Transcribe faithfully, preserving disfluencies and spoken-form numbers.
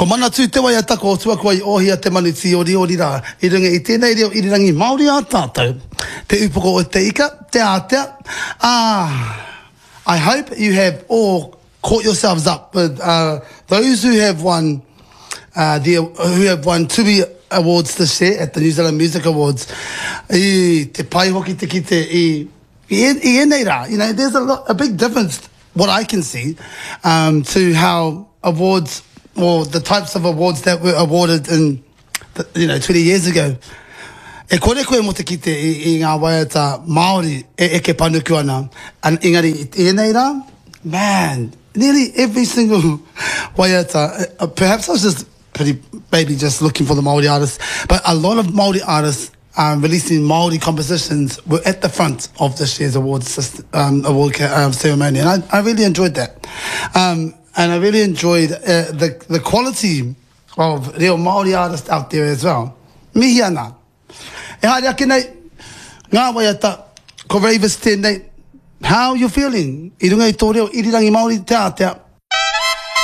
Ko Manatū te waiata ko Tuakua i Ohia te manu tīoriori rā i runga i tēnei reo irirangi Māori a tātou. Te upoko o te ika, te ātea. Ah, I hope you have all caught yourselves up with uh, those who have won uh, the, who have won Tui Awards this year at the New Zealand Music Awards. I te pai hoki te kite i, i, i ēnei rā. You know, there's a, lot, a big difference, what I can see, um, to how awards or the types of awards that were awarded in, the, you know, twenty years ago. E kore koe mō te kite i, i ngā waiata Māori e eke panuku ana. An, engari, i ēnei rā, man, nearly every single waiata, uh, perhaps I was just pretty, maybe just looking for the Māori artists, but a lot of Māori artists um, releasing Māori compositions were at the front of this year's award, system, um, award um, ceremony, and I, I really enjoyed that. Um, and I really enjoyed uh, the, the quality of reo Māori artists out there as well. Mihi ana. E haere ake nei, ngā waiata, ko Ravers tēnei, how you feeling? I runga i tō reo irirangi Māori te ātea.